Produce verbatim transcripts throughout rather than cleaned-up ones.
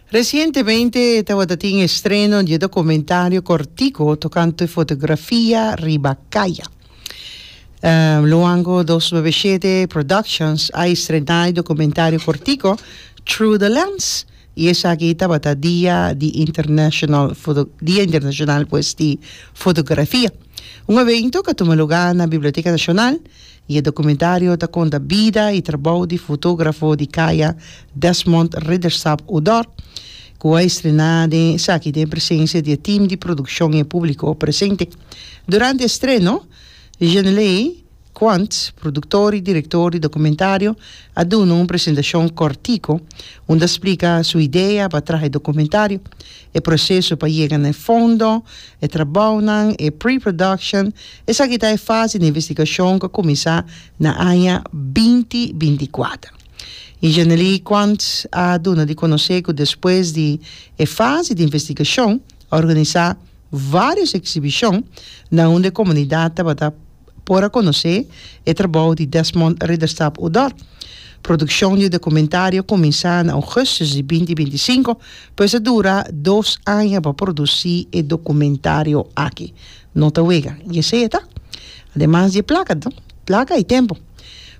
Recientemente tabatin estreno di documentario cortico tocante fotografia riba caya. Um, Luango dos nuebe shete Productions a estrena e documentario cortico Through the Lens y esaki tabata dia di International Foto, Dia Internacional, pues, di Fotografia. Un evento cu a tuma luga na Biblioteca Nacional y e documentario ta conta bida y trabou di fotografo di caya Desmond Ridderstap Odor, cu a estrena den esaki den presencia di team di produccion y publico presente. Durante e estreno, Janelei Quant, productor y director di documentario, a duna un presentacion cortico, unda a splica su idea pa traha e documentario, e proceso pa yega na fondo, e trabou, e pre-production. Esaki ta e fase di investigacion cu a cuminsa na aña dos mil binticuater. Y Janely Quant a duna di conoce cu despues di e fase di investigacion, a organisa varios exhibicion na unda e comunidad tabata por a conoce e trabou di Desmond Ridderstap Odor. Produccion di documentario a cuminsa na augustus di dos mil binticinco, pues a dura dos aña pa produci e documentario aki. No ta wega, y esey ta. Ademas di placa, no? Placa y tempo.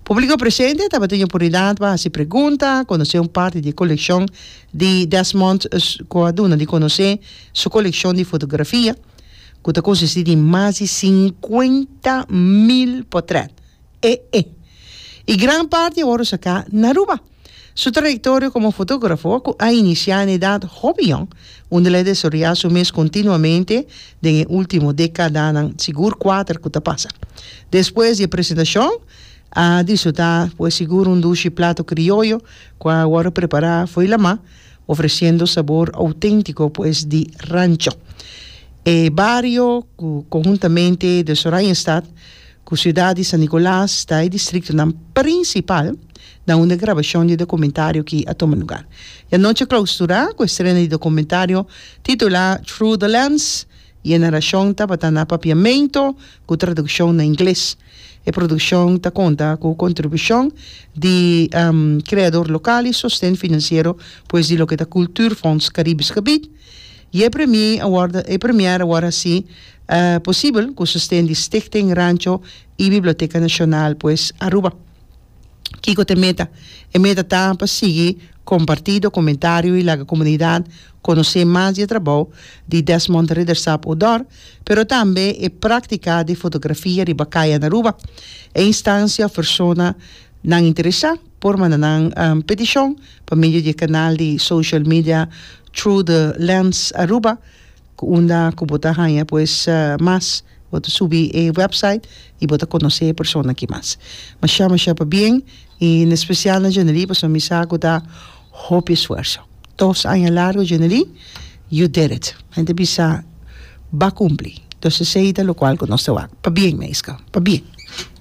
Publico presente tabatin oportunidad pa haci pregunta, conoce un parti di e coleccion di Desmond, cu a duna di conoce su coleccion di fotografia, cu ta consisti di mas di cincuenta mil portret. E, e. Y gran parti a wordo saca na Aruba. Su trayectoria como fotografo a inicia na edad hoben, unda el a desaroya su mes continuamente den ultimo decada, sigur cuater cu a pasa. Despues di e presentacion, a disfruta, pues, sigur un dushi plato crioyo, cu a wordo prepara for di lama, ofreciendo sabor autentico, pues, di rancho. E bario, conhuntamente di Oranjestad, cu ciudad di San Nicolas, ta e distrito principal na unda e grabacion di documentario aki a tuma luga. E anochi a clausura cu estreno di documentario titula Through the Lens y e naracion tabata na papiamento cu traduccion na ingles. E produccion ta conta cu contribucion di um, creador local y sosten financiero, pues, di loke ta Cultuurfonds Caribisch Gebied. Y e premiere award, e premiere awor asina uh, posibel cu sosten di Stichting Rancho y Biblioteca Nacional, pues, Aruba. Kico ta e meta? E meta ta pa sigui comparti documentario y laga comunidad conoce mas di trabou di Desmond Ridderstap Odor, pero tambe e practica di fotografia riba caya na Aruba. E instancia, persona nan interesa por manda nan um, peticion pa medio di canal di social media Through the Lens Aruba, unda cu bo ta haya, pues, uh, mas bo ta subi e website y bo ta conoce e persona aki mas. Masha masha pabien y en especial na Janely, pasobra mi sa cu ta hopi esfuerso. Dos aña largo, Janely, you did it. Hende bisa, b'a cumpli. Anto, esey ta loke nos ta. Pabien, meisje. Pabien.